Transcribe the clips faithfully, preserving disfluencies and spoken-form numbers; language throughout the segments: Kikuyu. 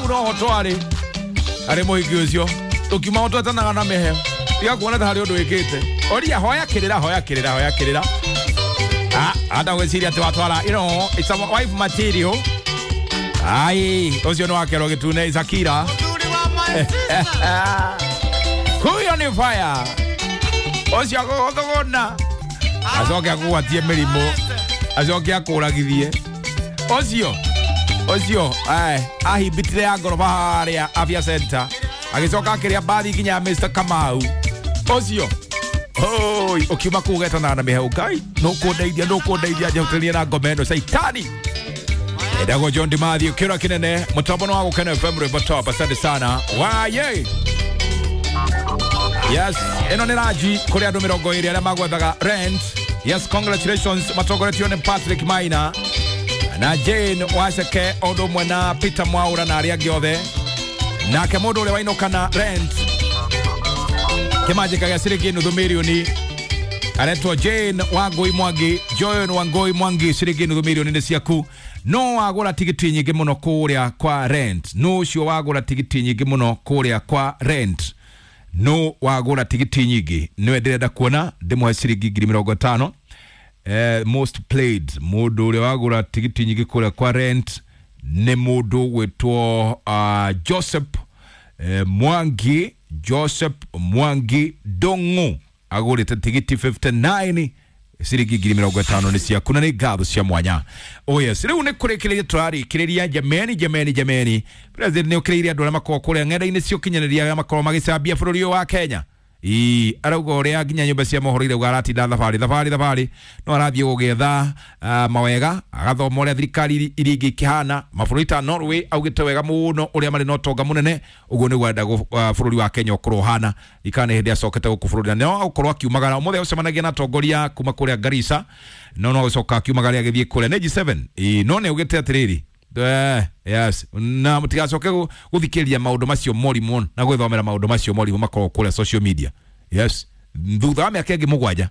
Hau no ho twarĩ harĩ mũhiki ũcio tũkiuma ho twetanaga na mĩheo tiga kuona ta harĩ ũndũ wĩkĩte. Oria hoya kĩrĩra, hoya kĩrĩra, hoya kĩrĩra. Ah, anda gwĩciria atĩ watwara, you know, it's a wife material. Ai, ũcio nĩ wakerwo gĩtune Shakira. Huyo ni fire. Ũcio agũgũthũgũna acoke akũgwatie mĩrimũ acoke akũragithie. Ũcio ũcio ahimbitire ya ngoroba harĩa Afya Center agĩcoka akĩrĩa mbathi nginya ya Mister Kamau. Ũcio oi ũkiuma kũu ũgetanaga na mĩheũ. Ngai nũkũndeithia, nũkũndeithia njehutania na ngoma ĩno caitani. Ndagwo John Dimathi kĩra kĩnene mũtambo wa Gũkena F M rwĩmbo top. Asante sana waye. Yes, ĩno nĩ Raji kũrĩ andũ mĩrongo ĩrĩ arĩa magwethaga rent. Yes, congratulations matongoretio nĩ Patrick Maina na Jane Waceke o ũndũ ũmwe na Peter Mwaura na arĩa angĩ othe. Nake mũndũ ũrĩa wainũka na rent kĩmanjĩka gĩa ciringi nuthu mirioni aretwo Jane Wangui Mwangi. Joan Wangui Mwangi, ciringi nuthu mirioni nĩ ciaku. No wagũra tigiti nyingĩ mũno kũrĩa kwa rent. No ũcio wagũra tigiti nyingĩ mũno kũrĩa kwa rent. No wagũra tigiti nyingĩ nĩwe ndĩrenda kuona ndĩmũhe ciringi ngiri mĩrongo ĩtano. Eh, most played mũndũ ũrĩa wagũra tigiti nyingĩ kũrĩa kwa rent nĩ mũndũ gwĩtwo uh, Joseph eh, Mwangi. Joseph Mwangi Dongo agũrĩte tigiti fifty-nine ciringi ngiri mĩrongo ĩtano nĩ ciaku na nĩ ngatho cia mwanya. Oh yes, rĩu nĩ kũrĩkĩrĩria tũrarĩkĩrĩria. Jameni, jameni, jameni, president nĩ ũkĩrĩirie andũ arĩa makoragwo kũrĩa ng'enda-inĩ cia ũkinyanĩria arĩa makoragwo magĩcambia bũrũri ũyũ wa Kenya. Ii arauga ũrĩa nginya nyũmba cia mohoro irauga aratinda thabarĩ thabarĩ thabarĩ no arathiĩ gũgĩetha uh, mawega agathoma ũrĩa thirikari iria ingĩ ikĩhana mabũrũri ta Norway augĩte wega mũno ũrĩa marĩ na ũtonga mũnene ũguo nĩguo arenda uh, bũrũri wa Kenya ũkorwo ũhana ikana nĩ hĩndĩ acokete gũkũ bũrũri na no agũkorwo akiumagara ũmũthĩ agũcemanagia na atongoria kuma kũrĩa Garissa no no agũcoka akiumagara agĩthiĩ kũrĩa nĩ G seven. Ii no nĩ augĩte atĩrĩrĩ Eh, yes na mutigacoke guthikiriria maundu macio morimu na gwithomera maundu macio morimu makoragwo kuria social media. Yes, thutha wa miaka ĩngĩ mũgwanja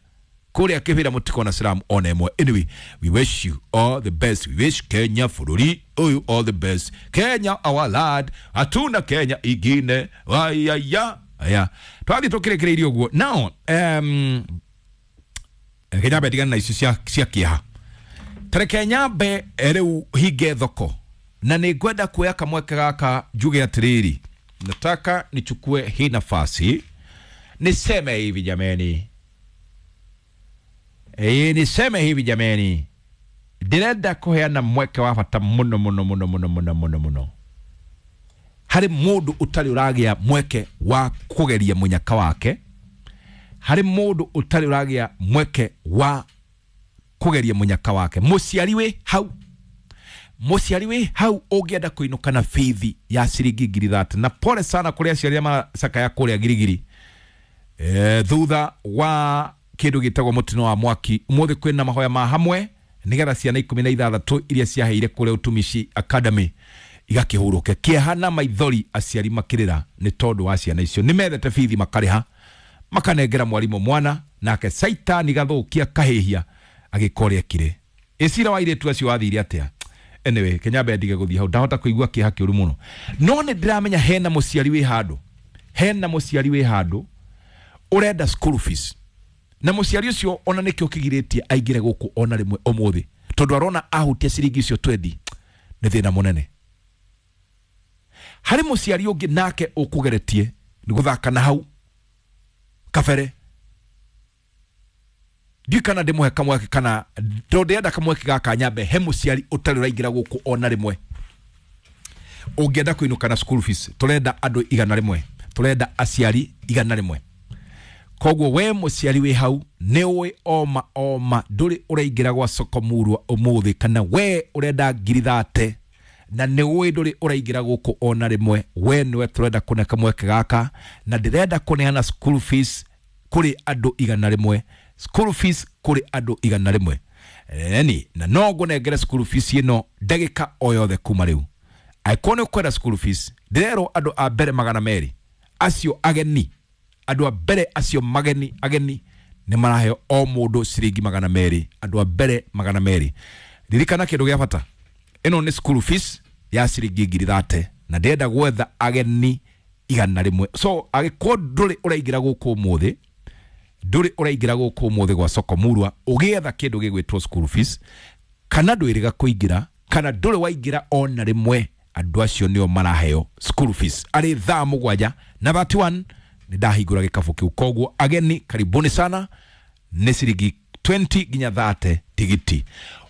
kuria kibira mutikona silamu ona ĩmwe. Anyway, we wish you all the best. We wish Kenya bũrũri ũyũ all the best. Kenya our land, hatuna Kenya ingine wayaya. Aya twathi tukirikirie ũguo now. um Kenya betigana na icio cia cia kĩeha. Tareke nyambe rĩu hinge thoko na nĩ ngwenda kuoya kamweke gaka njuge atĩrĩrĩ, nataka nichukue hii nafasi niseme hivi jameni, eh, niseme hivi jameni, ndĩrenda kũheana mweke wa bata mũno mũno mũno mũno mũno mũno mũno harĩ mũndũ ũtarĩ ũragĩa mweke wa kũgeria mũnyaka wake, harĩ mũndũ ũtarĩ ũragĩa mweke wa kũgeria mũnyaka wake. Mũciari wĩ hau, mũciari wĩ hau ũngĩenda kũinũka na bithi ya ciringi ngiri thate, na pole sana kũrĩ aciari arĩa maracakaya kũrĩa Girigiri eh, thutha wa kĩndũ gĩtagwo mũtino wa mwaki. Ũmũthĩ kwĩna mahoya ma hamwe nĩgetha ciana ikũmi na ithathatũ iria ciaheire kũrĩa Utumishi Academy igakĩhurũke. Kĩeha na maithori aciari makĩrĩra nĩ tondũ wa ciana icio nĩ methete bithi makarĩha makanengera mwarimũ mwana nake caitani gathũkia kahĩhia agĩka ũrĩa ekire. Ĩcira wa airĩtu acio wathire atĩa? Anyway, Kenya ndige gũthiĩ hau ndahota kũigua kĩeha kĩũru mũno, no nĩ ndĩramenya hena mũciari wĩ handũ, hena mũciari wĩ handũ ũrenda school fees, na mũciari ũcio ona nĩkĩo kĩgirĩtie aingĩre gũkũ ona rĩmwe ũmũthĩ tondũ arona ahutia ciringi icio twendi nĩ thĩna mũnene. Harĩ mũciari ũngĩ nake ũkũgeretie nĩ gũthaka na hau kabere, ndiũĩ kana ndĩmũhe kamweke kana tondũ ndĩrenda kamweke gaka nyambe he mũciari ũtarĩ ũraingĩra gũkũ ona rĩmwe ũngĩenda kũinũka na school fees. Tũrenda andũ igana rĩmwe, tũrenda aciari igana rĩmwe. Koguo we mũciari wĩ hau nĩ ũĩ oma oma ndũrĩ ũraingĩra gwa soko murwa ũmũthĩ, kana we ũrenda ngiri thate na nĩ ũĩ ndũrĩ ũraingĩra gũkũ ona rĩmwe, we nĩwe tũrenda kũne kamweke gaka na ndĩrenda kũneana school fees kũrĩ andũ igana rĩmwe, school fees kũrĩ andũ igana rĩmwe. Eni na no ngũnengere school fees ĩno ndagĩka o yothe kuma rĩu. Angĩkorwo nĩ ũkwenda school fees, ndĩrerwo andũ a mbere magana merĩ acio ageni, andũ a mbere acio mageni ageni nĩ maraheo o mũndũ ciringi magana merĩ, andũ a mbere magana merĩ. Ririkana kĩndũ gĩa bata, ĩno nĩ school fees ya ciringi ngiri thate. Na ndĩrenda gwetha ageni igana rĩmwe. So agĩkorwo ndũrĩ ũraingĩra gũkũ ũmũthĩ, ndũrĩ ũraingĩra gũkũ ũmũthĩ gwa Soko Murwa ũgĩetha kĩndũ gĩgwĩtwo school fees, kana ndwĩrĩga kũingĩra, kana ndũrĩ waingĩra ona rĩmwe, andũ acio nĩo maraheo school fees arĩ thaa mũgwanja na thirty-one nĩ ndahingũra gĩkabũ kĩu. Koguo ageni karibuni sana, nĩ ciringi twenty nginya thirty tigiti.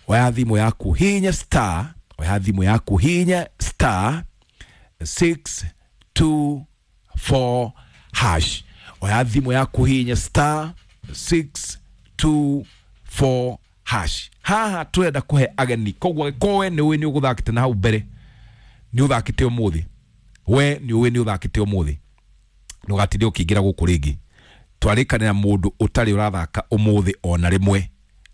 Oya thimũ yaku hinya star, oya thimũ yaku hinya star six two four hash. Oya thimũ yaku hinya star six two four hash. Haha turenda kuhe ageni, koguo kowe nĩ ũĩ nĩ ũgũthakĩte na hau mbere, nĩ ũthakĩte ũmũthĩ, we nĩ ũĩ nĩ ũthakĩte ũmũthĩ, ndũgatinde ũkĩingĩra gũkũ rĩngĩ. Twarĩkanĩra mũndũ ũtarĩ ũrathaka ũmũthĩ ona rĩmwe,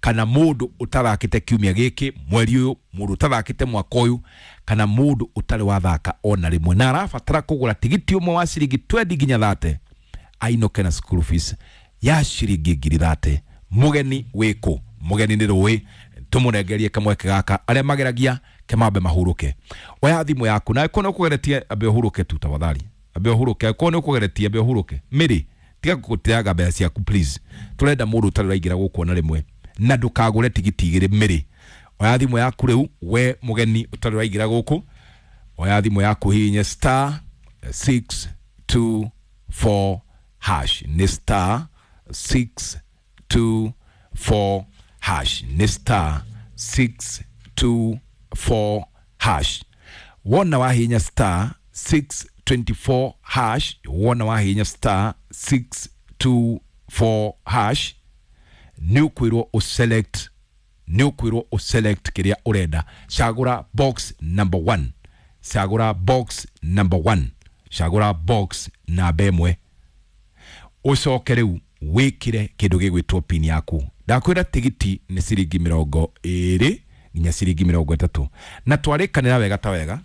kana mũndũ ũtathakĩte kiumia gĩkĩ mweri ũyũ, mũndũ ũtathakĩte mwaka ũyũ, kana mũndũ ũtarĩ wathaka ona rĩmwe na arabatara kũgũra tigiti ũmwe wa ciringi twenty nginya thirty, ainũke na school fees ya ciringi ngiri thirty. Mũgeni wĩkũ? Mũgeni nĩ rũĩ, tũmũnengerie kamweke gaka, arĩa mageragia kemambe mahurũke. Oya thimũ yaku na angĩkorwo nĩ ũkũgeretie ambe ũhurũke tu tafadhali, ambe ũhurũke. Angĩkorwo nĩ ũkũgeretie ambe ũhurũke. Mĩrĩ tiga gũteaga mbeca ciaku please, turenda mũndũ ũtarĩ ũraingĩra gũkũ ona rĩmwe, na ndũkagũre tigiti igĩrĩ. Mĩrĩ oya thimũ yaku rĩu, we mũgeni ũtarĩ ũraingĩra gũkũ, oya thimũ yaku hihinye star six two four hash. Nĩ star six two four hash. Nĩ star six two four hash. Wona wahihinya star six twenty-four hash, wona wahihinya star six two four hash, nĩ ũkwĩrwo ũselect, nĩ ũkwĩrwo ũselect kĩrĩa ũrenda. Cagũra box number one, cagũra box number one, cagũra box namba ĩmwe, ũcoke rĩu wĩkĩre kĩndũ gĩgwĩtwo pin yaku. Ndakwĩra tigiti nĩ ciringi mĩrongo ĩrĩ nginya ciringi mĩrongo ĩtatũ, na twarĩkanĩra wega ta wega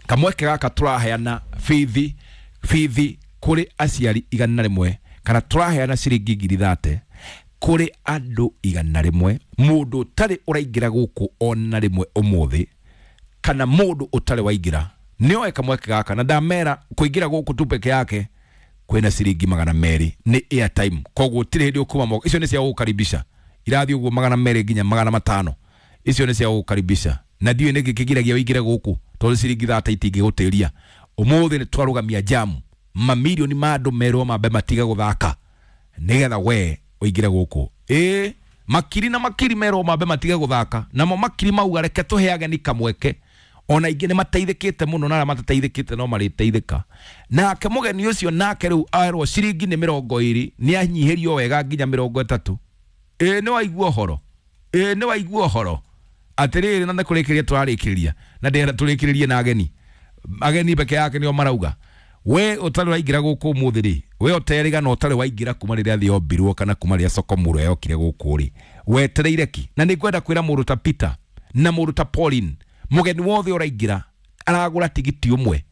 kamweke gaka tũraheana bithi, bithi kũrĩ aciari igana rĩmwe, kana tũraheana ciringi ngiri thate kũrĩ andũ igana rĩmwe, mũndũ ũtarĩ ũraingĩra gũkũ ona rĩmwe ũmũthĩ, kana mũndũ ũtarĩ waingĩra nĩoe kamweke gaka. Na ndamera kũingĩra gũkũ tu peke yake kwĩna ciringi magana merĩ nĩ airtime, koguo gũtirĩ hĩndĩ ũkuma moko. Icio nĩ cia gũgũkaribisha, irathiĩ ũguo magana merĩ nginya magana matano, icio nĩ cia gũgũkaribisha. Na ndiũĩ nĩkĩ kĩgiragia ũingĩre gũkũ, tondũ ciringi thate itingĩgũtĩria. Ũmũthĩ nĩ twarũgamia jamu, mamirioni ma andũ merwo mambe matiga gũthaka nĩgetha we ũingĩre gũkũ. Ĩ makiri na makiri merwo mambe matiga gũthaka, namo makiri mauga reke tũhe ageni kamweke. Ona ingĩ nĩ mateithĩkĩte mũno, na arĩa matateithĩkĩte no marĩteithĩka. Nake mũgeni ũcio nake rĩu erwo ciringi nĩ mĩrongo ĩrĩ, nĩ anyihĩrio wega nginya mĩrongo ĩtatũ. Ĩ nĩ waigua ũhoro, ĩ nĩ waigua ũhoro. Atĩrĩrĩ, na nĩ kũrĩkĩrĩria tũrarĩkĩrĩria, na ndĩrenda tũrĩkĩrĩrie na ageni. Ageni peke yake nĩo marauga we ũtarĩ waingĩra gũkũ ũmũthĩ rĩ, we ũterĩga na ũtarĩ waingĩra kuma rĩrĩa thĩ yombirwo, kana kuma rĩrĩa Soko Murwa yokire gũkũ rĩ, wetereire ki? Na nĩ ngwenda kwĩra mũndũ ta Peter na mũndũ ta Pauline, mũgeni wothe ũraingĩra aragũra tigiti ũmwe,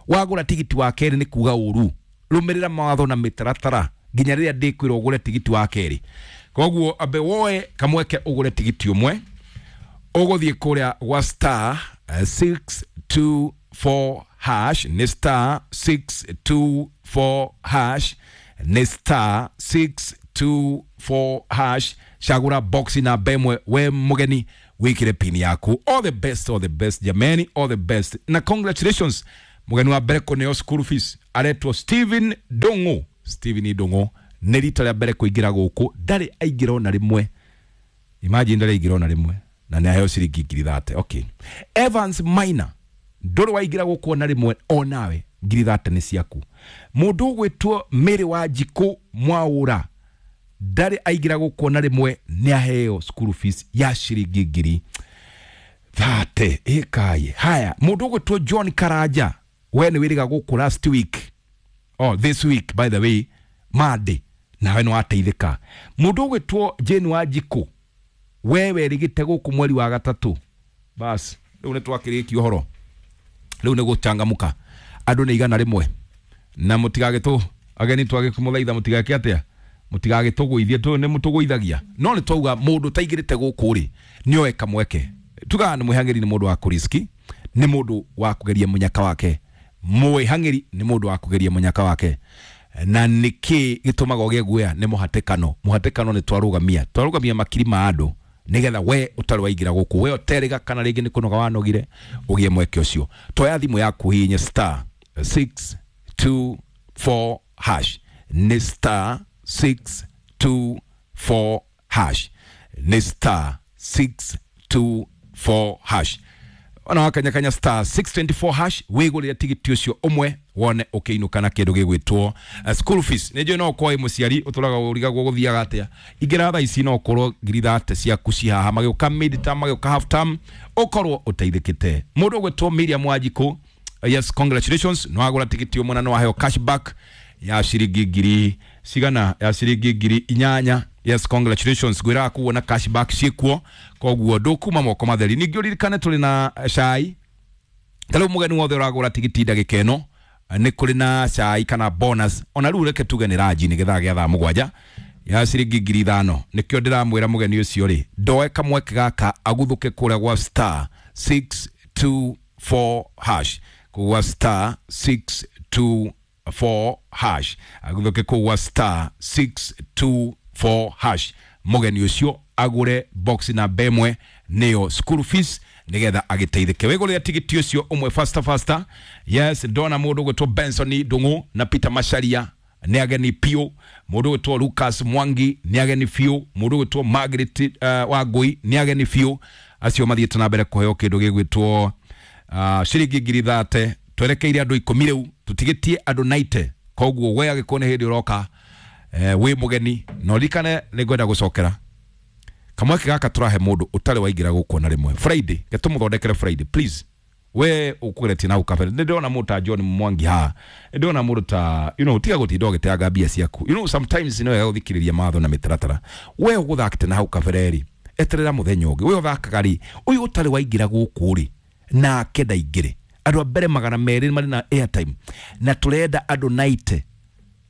wagũra tigiti wa kerĩ nĩ kuga ũru. Rũmĩrĩra mawatho na mĩtaratara nginya rĩrĩa ndĩkwĩrwo ũgũre tigiti wa kerĩ. Koguo ambe woe kamweke ũgũre tigiti ũmwe, ũgũthiĩ kũrĩa gwa star six two four hash, nĩ star six two four hash, nĩ star six two four hash. Cagũra box namba ĩmwe, we mũgeni wĩkĩre pin yaku. All the best, all the best jameni, all the best na congratulations. Mũgeni wa mbere kũneo school fees aretwo Steven Ndung'u. Steven Ndung'u nĩ rita rĩa mbere kũingĩra gũkũ, ndarĩ aingĩra ona rĩmwe. Imagine ndarĩ aingĩra ona rĩmwe na nĩ aheo ciringi ngiri thate. Okay, Evans Maina ndũrĩ waingĩra gũkũ ona rĩmwe, onawe ngiri thate nĩ ciaku. Mũndũ ũgwĩtwo Mary wa Njikũ Mwaũra ndarĩ aingĩra gũkũ ona rĩmwe, nĩ aheo school fees ya ciringi ngiri thate. Ĩkaye haya, mũndũ ũgwĩtwo John Karanja, we nĩ wĩrĩga gũkũ last week, oh this week by the way, Monday, nawe nĩ wateithĩka. Mũndũ ũgwĩtwo Jane wa Njikũ, we werĩgĩte gũkũ mweri wa gatatũ, bas rĩu nĩ twakĩrĩkia ũhoro, rĩu nĩ gũchangamũka. Andũ nĩ igana rĩmwe, na mũtigagĩtũ ageni twagĩkũmũthaitha mũtigake atĩa, mũtigagĩtũgũithie, tũ nĩ mũtũgũithagia. No nĩ twauga mũndũ ũtaingĩrĩte gũkũ rĩ, nĩoe kamweke. Tugaga nĩ mwĩhang'ĩri, nĩ mũndũ wa kũriski, Nĩ mũndũ wa kũgeria mũnyaka wake. Mwĩhang'ĩri nĩ mũndũ wa kũgeria mũnyaka wake. Na nĩkĩ gĩtũmaga ũgĩe guoya? Nĩ mũhatĩkano. Mũhatĩkano nĩ twarũgamia twarũgamia makiri ma andũ nigetha we ũtarĩ waingĩra gũkũ, we ũterĩga kana rĩngĩ nĩ kũnoga wanogire, ũgĩe mweke ũcio. Toya thimũ yaku, hihinye star six two four hash. Nĩ star six two four hash, nĩ star six two four hash. Ona wakanyakanya star six twenty-four hash, wigurire tigiti ucio umwe wone ukiinuka na kindu gigwitwo uh, school fees. Nĩ njũĩ no ũkorwo wĩ mũciari ũtũraga ũrigagwo gũthiaga atĩa. Ingĩra thaa ici no ũkorwo ngiri thate ciaku ci haha, magĩũka mid term, magĩũka half term, ũkorwo ũteithĩkĩte. Mũndũ ũgwĩtwo Miriam Wanjikũ, yes, congratulations, nĩ wagũra tigiti ũmwe na nĩ waheo cashback ya ciringi ngiri cigana? Ya ciringi ngiri inyanya. Yes, congratulations. Ngwĩraga kuona cashback ciĩkuo, koguo ndũkuma moko matheri. Ningĩ ũririkane tũrĩ na cai. Ta rĩu mũgeni wothe ũragũra tigiti ndagĩka ĩno nĩ kũrĩ na cai kana bonus. Ona rĩu reke tuge nĩ ranji nĩ gĩthaa gĩa thaa mũgwanja ya ciringi ngiri ithano. Nĩkĩo ndĩramwĩra mũgeni ũcio rĩ, ndoe kamweke gaka aguthũke kũrĩa gwa star six two four hash, gwa star six two four hash, aguthũke kũu gwa star six two four hash. Mũgeni ũcio agũre box namba ĩmwe, nĩyo school fees, nigetha agĩteithĩke. Wĩgũrĩre tigiti ũcio ũmwe faster faster. Yes, ndona mũndũ ũgwĩtwo Benson Ndung'u na Peter Macharia nĩ ageni piũ. Mũndũ ũgwĩtwo Lucas Mwangi nĩ ageni biũ. Mũndũ ũgwĩtwo Margaret uh, Wangui nĩ ageni biũ. Acio mathiĩte na mbere kũheo kĩndũ gĩgwĩtwo uh, ciringi ngiri thate. Twerekeire andũ ikũmi rĩu, tũtigĩtie andũ naite. Koguo we agĩkorwo nĩ hĩndĩ ũroka, eh, wĩ mũgeni, na ũririkane nĩ ngwenda gũcokera kamweke gaka tũrahe mũndũ ũtarĩ waingĩra gũkũ na rĩmwe Friday. Getũmũthondekere Friday, please. We ũkũgeretie na kabere, nĩ ndĩrona mũndũ ta John Mwangi haha, nĩ ndĩrona mũndũ ta you know tiga gũtinda ũgĩteanga mbia ciaku. you know sometimes nĩ wega gũthikĩrĩria mawatho na mĩtaratara. We ũgũthakĩte na hau kabere rĩ, eterera mũthenya ũngĩ. We ũthakaga rĩ, ũyũ ũtarĩ waingĩra gũkũ rĩ, nake ndaingĩre. Andũ a mbere magana merĩ marĩ na airtime, na tũrenda andũ naite,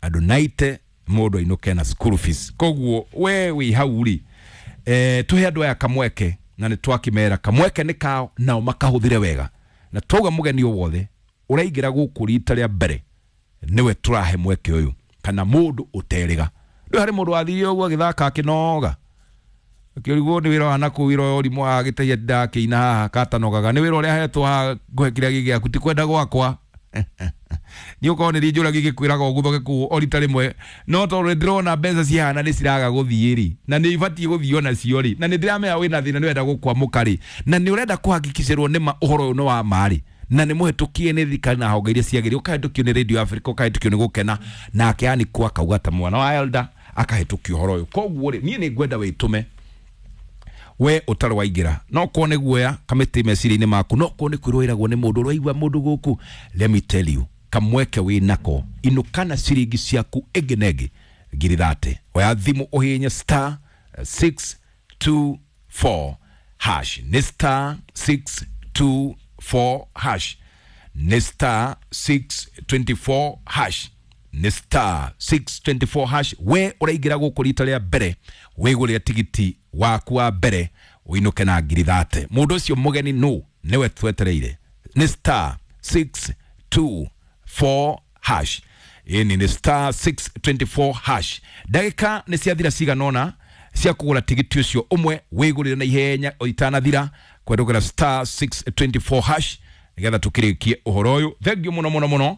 andũ naite mũndũ ainũke na school fees. Koguo we wĩ hau rĩ, eh, tuhe andũ aya kamweke, na nĩ twakĩmera kamweke nĩ kao, nao makahũthĩre wega. Na twauga mũgeni o wothe ũraingĩra gũkũ rita rĩa mbere nĩwe tũrahe mweke ũyũ, kana mũndũ ũterĩga. Rĩu harĩ mũndũ wathire ũguo agĩthaka akĩnoga, akĩrigwo nĩ wĩra wa nakũu, wĩra ũyũ ũrimũ agĩteithia ndakĩina haha katanogaga, nĩ wĩra ũrĩa ahetwo haha ngũhe kĩrĩa gĩ gĩaku, ti kwenda gwakwa. Niĩ ũkorwo nĩ njũragia gĩkwĩraga ũguthũke kũu o rita rĩmwe, no tondũ ndĩrona mbeca cihana nĩ ciraga gũthiĩ rĩ, na nĩ ibatiĩ gũthiĩ onacio rĩ, na nĩ ndĩramenya wĩna thĩna, nĩ ũrenda gũkwamũka rĩ, na nĩ ũrenda kũhakikicĩrwo nĩ ma ũhoro ũyũ nĩ wa ma rĩ, na nĩ mũhetũkie nĩ thirikari na honge iria ciagĩrĩire, ũkahĩtũkio nĩ Radio Africa, ũkahĩtũkio nĩ Gũkena, nake yani kwa akauga ta mwana wa elder akahĩtũkio ũhoro ũyũ. Koguo rĩ, niĩ nĩ ngwenda wĩtũme we ũtarĩ waingĩra, no korwo nĩ guoya kamĩtĩ meciria-inĩ maku, no korwo nĩ kwĩrwo wĩragwo nĩ mũndũ ũraigua mũndũ gũkũ, let me tell you, kamweke wĩ nako, inũka na ciringi ciaku ĩngĩ na ĩngĩ ngiri thate. Oya thimũ ũhihinye star six two four hash, nĩ star six two four hash, nĩ star six twenty-four hash, nĩ star six twenty-four hash. We ũraingĩra gũkũ rita rĩa mbere, wĩgũrĩre tigiti waku wa mbere ũinũke na ngiri thate. Mũndũ ũcio mũgeni nũ nĩwe twetereire, nĩ star six two four hash. Ĩni nĩ star six twenty-four hash. Ndagĩka nĩ ciathira cigana ũna cia kũgũra tigiti ũcio ũmwe, wĩgũrĩre na ihenya itanathira kwendũkĩra star six twenty-four hash nĩgetha tũkĩrĩkie ũhoro ũyũ. Thengiũ mũno mũno mũno.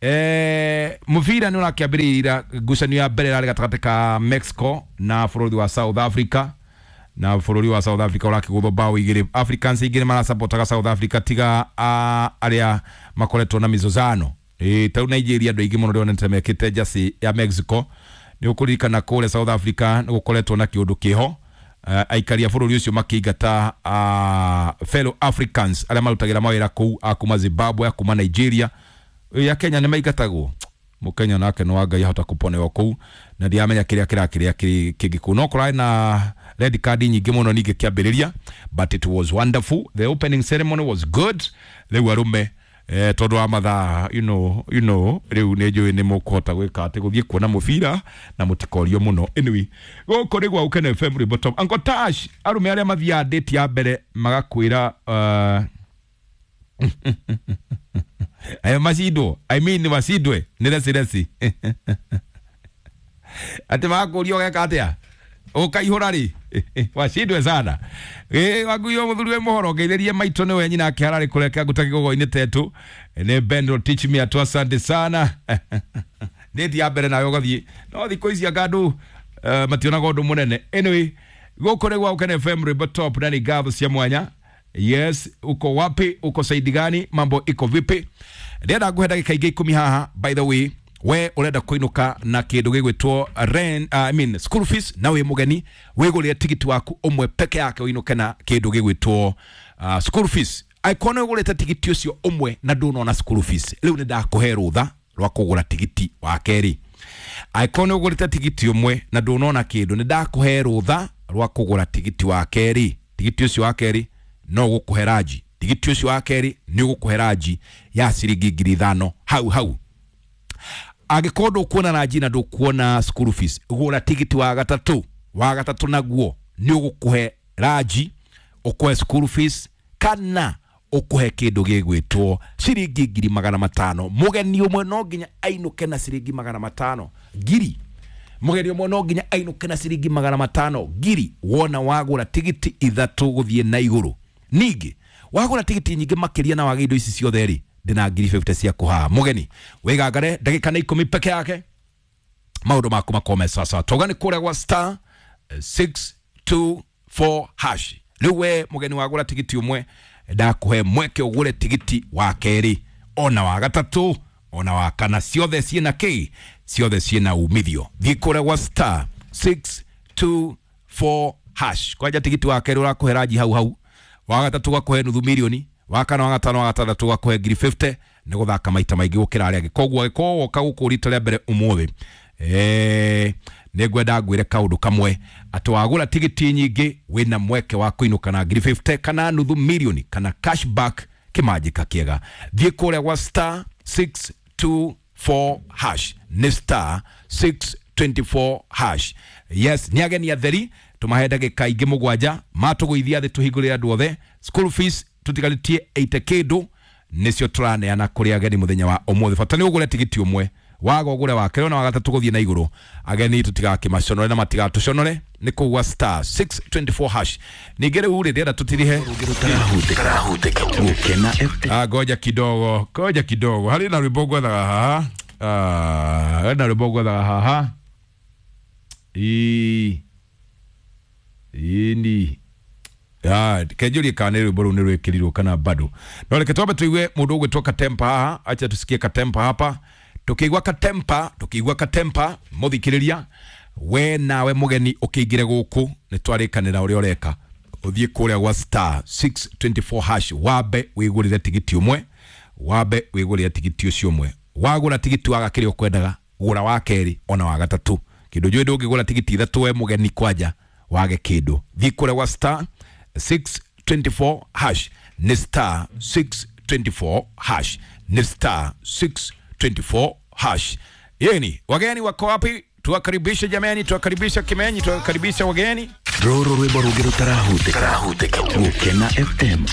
Eh, mũbira nĩ ũrakĩambĩrĩria ngucanio ya mbere ĩrarĩ gatagatĩ ka Mexico na bũrũri wa South Africa, na bũrũri wa South Africa ũrakĩgũthwo bao igĩrĩ. Africans igĩrĩ marasapotaga South Africa tiga arĩa makoretwo na mizozano. Eh, ta rĩu Nigeria andũ aingĩ mũno ndĩronete mekĩte jersey ya Mexico. Nĩ ũkũririkana kũrĩa South Africa nĩ gũkoretwo na kĩũndũ kĩho, uh, aikari a bũrũri ũcio makĩingata uh, fellow Africans arĩa marutagĩra mawĩra kũu, a kuma Zimbabwe, a kuma Nigeria, ya Kenya nĩ maingatagwo. Mũkenya nake nĩ wa Ngai ahota kũponewa kũu, na ndiramenya kĩrĩa kĩrakĩrĩa kĩngĩ kũu. No kũrarĩ na red card nyingĩ mũno ningĩ kĩambĩrĩria, but it was wonderful, the opening ceremony was good. Rĩu arũme, eh, tondũ wa mathaa, you know, you know, rĩu nĩ njũĩ nĩ mũkũhota gwĩka atĩ gũthiĩ kuona mũbira na mũtikorio mũno. Anyway, gũkũ nĩ gwa Gũkena F M rwĩmbo Tom Uncle Tash. Arũme arĩa mathiaga date ya mbere magakwĩra uh, Aya macindwo, I mean macindwe nĩ reci reci. Atĩ makũria ũgeka atĩa? Ũkaihũra rĩ? Wacindwe sana. Ĩ waguo mũthuri we mũhoro ngeithĩrie maitũ nĩwe nyina ake hararĩ kũrĩa kĩangu ta kĩgogo-inĩ tetu. Nĩ Ben teach me atu asante sana. Ndĩti ya mbere nawe ũgathiĩ. No thikũ ici anga andũ uh, mationaga ũndũ mũnene. Anyway, gũkũ nĩ gwa Ũkene F M Rwĩmbo Top na nĩ ngatho cia mwanya. Yes, uko wapi? Uko saidi gani? Mambo iko vipi? Ndĩrenda ngũhe ndagĩka ingĩ ikũmi haha. By the way, we urenda kuinuka na kindu gigwitwo rent, uh, I mean school fees, na wi mugeni wigurire tigiti waku umwe peke yake uinuke na kindu gigwitwo uh, school fees. Aikona ugurite tigiti ucio umwe na ndunona school fees, riu ni ndakuhe rutha rwa kugura tigiti wa keri. Aikona ugurite tigiti umwe na ndunona kindu, ni ndakuhe rutha rwa kugura tigiti wa keri. Tigiti ucio wa keri no gukuhe raji. Tigiti ucio wa keri ni gukuhe raji ya ciringi ngiri ithano hau hau. Angĩkorwo ndũkuona ranji na ndũkuona school fees, gũra tigiti wa gatatũ. Wa gatatũ naguo nĩ ũgũkũhe ranji, ũkũhe school fees, kana ũkũhe kĩndũ gĩgwĩtwo ciringi ngiri magana matano. Mũgeni ũmwe no nginya ainũke na ciringi magana matano ngiri. Mũgeni ũmwe no nginya ainũke na ciringi magana matano ngiri wona wagũra tigiti ithatũ gũthiĩ na igũrũ. Ningĩ wagũra tigiti nyingĩ makĩria na wage indo ici ciothe rĩ, ndĩna ngiri fifty cia kũhaha. Mũgeni wĩgangare ndagĩka nĩ ikũmi peke yake, maũndũ maku makome sasa. Toga nĩ kũrĩa gwa star six two four hash. Rĩu we mũgeni wagũra tigiti ũmwe, ndakũhe mweke ũgũre tigiti wa kerĩ ona wa gatatũ ona wa kana, ciothe ciĩna kĩ, ciothe ciĩna umithio. Thiĩ kũrĩa gwa star six two four hash. Kwanja tigiti wa kerĩ ũrakũhe ranji hau hau, wa gatatũ gakũhe nuthu mirioni, wa kana wa gatano wa gatandatũ gakũhe ngiri fifty. Nĩ gũthaka maita maingĩ gũkĩra arĩa angĩ. Koguo angĩkorwo woka gũkũ rita rĩa mbere ũmũthĩ, eh, nĩ ngwenda ngwĩre kaũndũ kamwe, atĩ wagũra tigiti nyingĩ wĩna mweke wa kũinũka na ngiri fifty kana nuthu mirioni kana cashback kĩmanjĩka kĩega. Thiĩ kũrĩa gwa star six two four hash. Nĩ star six twenty four hash. Yes, nĩ ageni atheri tũmahe ndagĩka ingĩ mũgwanja matũgũithia thĩ tũhingũrĩre andũ othe. School fees tutigarĩtie eighty kĩndũ nĩcio tũraneana kũrĩ ageni mũthenya wa ũmũthĩ. Bata nĩ ũgũre tigiti ũmwe, waga ũgũre wa kerĩ na wa gatatũ gũthiĩ na igũrũ. Ageni tũtigakĩmaconore na matigatũconore. Nĩ kũu gwa star six twenty four hash. Ningĩ rĩu rĩ, ndĩrenda tũtirihe. Ah, ngoja kidogo, ngoja kidogo. Harĩ na rwĩmbo ngwethaga haha. Ah, harĩ na rwĩmbo ngwethaga haha. Ii. Ii. Ah, kenjurie kana rwĩmbo rũu nĩ rwĩkĩrirwo kana bado. No reke twambe tuigue mũndũ ũgwĩtwo Katempa haha. Acha tusikie Katempa hapa. Tukigua Katempa, tukigua Katempa, mũthikĩrĩria we nawe mũgeni ũkĩingĩre gũkũ nĩ twarĩkanĩra ũrĩa ũreka. Ũthiĩ kũrĩa gwa star six twenty four hash, wambe wĩgũrĩre tigiti ũmwe, wambe wĩgũrĩre tigiti ũcio ũmwe. Wagũra tigiti waga kĩrĩa ũkwendaga, gũra wa kerĩ ona wa gatatũ. Kĩndũ njũĩ ndũngĩgũra tigiti ithatũ we mũgeni kwanja wage kĩndũ. Thiĩ kũrĩa gwa star six twenty four hash. Nĩ star six twenty four hash. Nĩ star six twenty four hash. Yeni, wageni wako wapi? Tuwakaribishe jamani, tuwakaribishe Kimenyi, tuwakaribishe wageni. Rũrũ rwĩmbo rũngĩ rũtarahutĩka. Gũkena F M.